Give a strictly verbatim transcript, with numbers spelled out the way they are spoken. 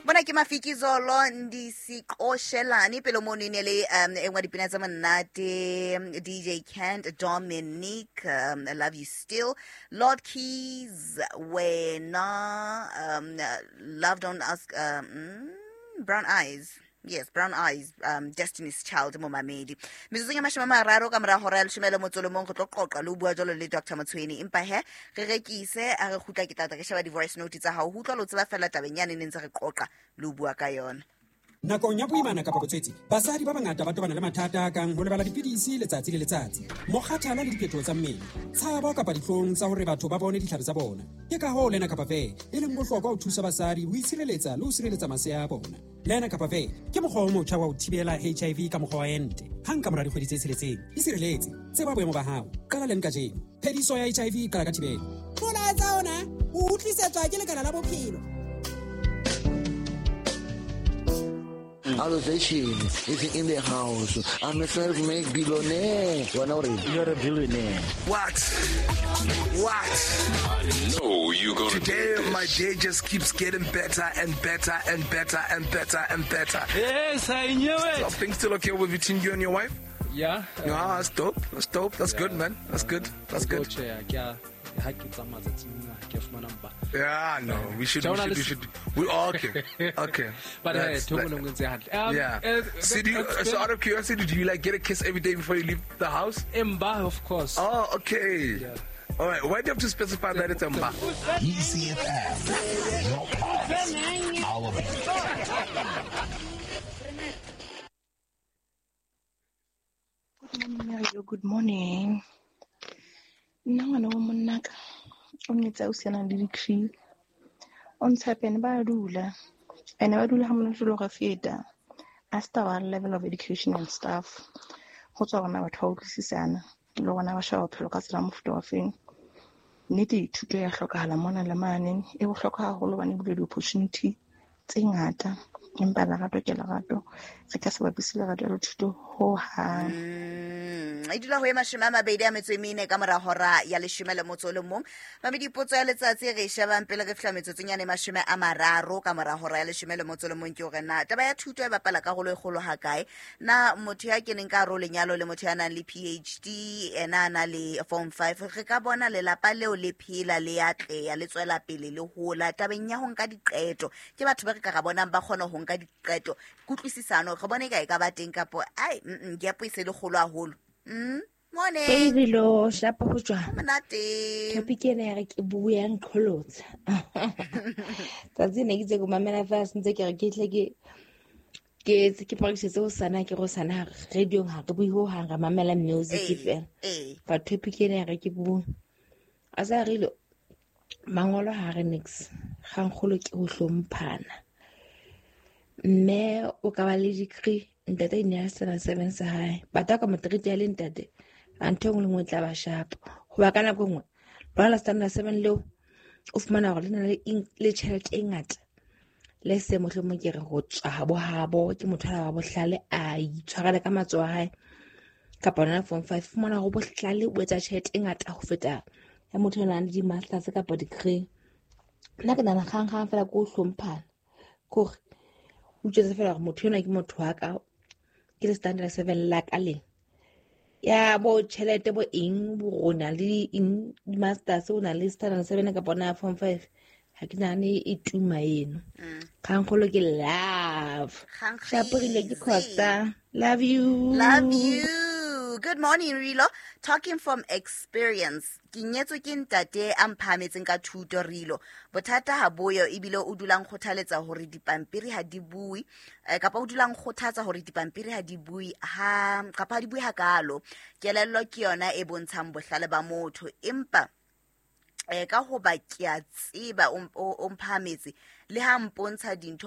Bona ke Mafikizolo Ndisiqoshelane pele mono e ne le um e nngwe ya dipina tsa monate D J Kent Dominic um, I Love You Still Lord Keys wena um, Love Don't Ask um, mm, Brown Eyes. Yes, Brown Eyes, um, Destiny's Child, momamedi. Metsotsong ya mashome a mararo ka mora hora ya leshome le motso o le mong re tlo qoqa le ho bua jwalo le Doctor Motshweni. Empa he, re rekise, a re kgutla ke tla tla ke sheba di-voice note tsa hao. Ho utlwa le ho tseba feela tabeng yane ne ntse re qoqa le ho bua ka yona. Nakong ya boimana kapa botswetsi, basadi ba bangata ba tobana le mathata a kang ho lebala dipidisi letsatsi le letsatsi, mokgathala le diphetoho tsa mmele, tshabo kapa dihlong tsa hore batho ba bone ditlhare tsa bona. Ke ka hoo Lena Kapa Ve e leng bohlokwa ho thusa basadi ho itshireletsa le ho sireletsa masea a bona. Lena Kapa Ve ke mokgwa o motjha wa ho thibela H I V ka mokgwa wa ente. Hang ka mora dikgwedi tse tsheletseng, isireletse, tseba boemo ba hao. Qala leng kajeno. Phediso ya H I V e qala ka thibelo. Molaetsa ona o utlwisetswa ke Lekala la Bophelo. Allocation is in the house. I'm a self-made billionaire. You're a billionaire. What? What? I know you're gonna Today, do this. My day just keeps getting better and better and better and better and better. Yes, I knew it. Are things still okay with between you and your wife? Yeah. Yeah, that's dope. That's dope. That's Yeah. good, man. That's good. That's good. Yeah, no, we should, we should, we should, we all okay, okay. But uh, like, um, yeah. Uh, so, do you, so out of curiosity, do you like get a kiss every day before you leave the house? Emba, of course. Oh, okay. Yeah. All right. Why do you have to specify that it's Emba? E C F M, your pulse, our beat. Good morning, Mario. Good morning. Nna ngwana wa monnaka o nyetse ausi a nang le degree. O ntshepe ene ba dula. Ene ba dula ha monate le go feta. A sta wa level of education and stuff. Go tswa bona batho ba utlwisisana le bona ba sheba bophelo ka tsela mofuta wa feng. Nnete thuto ya hlokahala mona le mane e bohlokwa haholo hobane e bula di-opportunity tse ngata. Empa lerato ke lerato, re ka se bapise lerato le thuto hohang. Mm, e dula ho e mashome a mabedi a metso e mene ka mora hora ya leshome le motso o le mong. Mamedi, potso ya letsatsi re e shebang pele re fihla metsotsong yane mashome a mararo ka mora hora ya leshome le motso o le mong ke hore na taba ya thuto e bapala karolo e kgolo hakae? Na motho ya keneng ka hare ho lenyalo le motho ya nang le P H D, ena a na le form five, re ka bona lelapa leo le phela, le atleha, le tswela pele, le hola tabeng ya ho nka diqeto? Ke batho ba re ka ra bonang ba kgona ho nka diqeto, kutlwisisano re bone ka e ka ba teng kapo ai mm gap e se le kgolo haholo. Mm morning. Baby lo shapo ho jwang? Monate. Topic ena ya re ke bua ya nqholotsa. Tsatsi ne ke tse go mamela fa sentse ke re ke tle ke ke ke practice ho sana ke go sana radio ha re bue ho hang ra mamela music fela. But topic ena ya re ke bua. A sa re lo mangolo ha re nix. Kgangkgolo ke ho hlomphana. Mme o ka ba le degree ntate ne a sena seven sa hae batho ka matric ya le ntate a ntho engwe le nngwe tla ba sharp hoba ka nako engwe ba la standard seven leo o fumana hore le na le le tjhelete e ngata le se mohlomong ke re ho tswa habo habo ke motho wa bohlale a itshwarela ka matsoho a hae kapa yona form five fumana hore bohlale o etsa tjhelete e ngata ho feta ya motho a nang le di-masters kapa degree. Nna ke nahana kgang kgang fela ke ho hlomphana kore o tjetse fela hore motho enwa ke motho wa ka ke le standard seven la ka leng ya bo tjhelete bo eng bo rona le eng di-masters o na le standard seven kapa ona form five ha ke nahane e tuma eno. Kgangkgolo ke love. Shaporile ke Costa. Love you. Love you. Good morning, Rilo. Talking from experience. Ke nyetswe ke ntate a mphahametseng ka thuto, Rilo. Bothata ha boyo ebile o dulang kgothaletsa hore dipampiri ha di bue, kapa o dulang kgothatsa hore dipampiri ha di bue ha kapa ha di bue hakalo. Kelello ke yona e bontshang bohlale ba motho, empa eh ka hoba ke a tseba o mphahametse le ha mpontsha dintho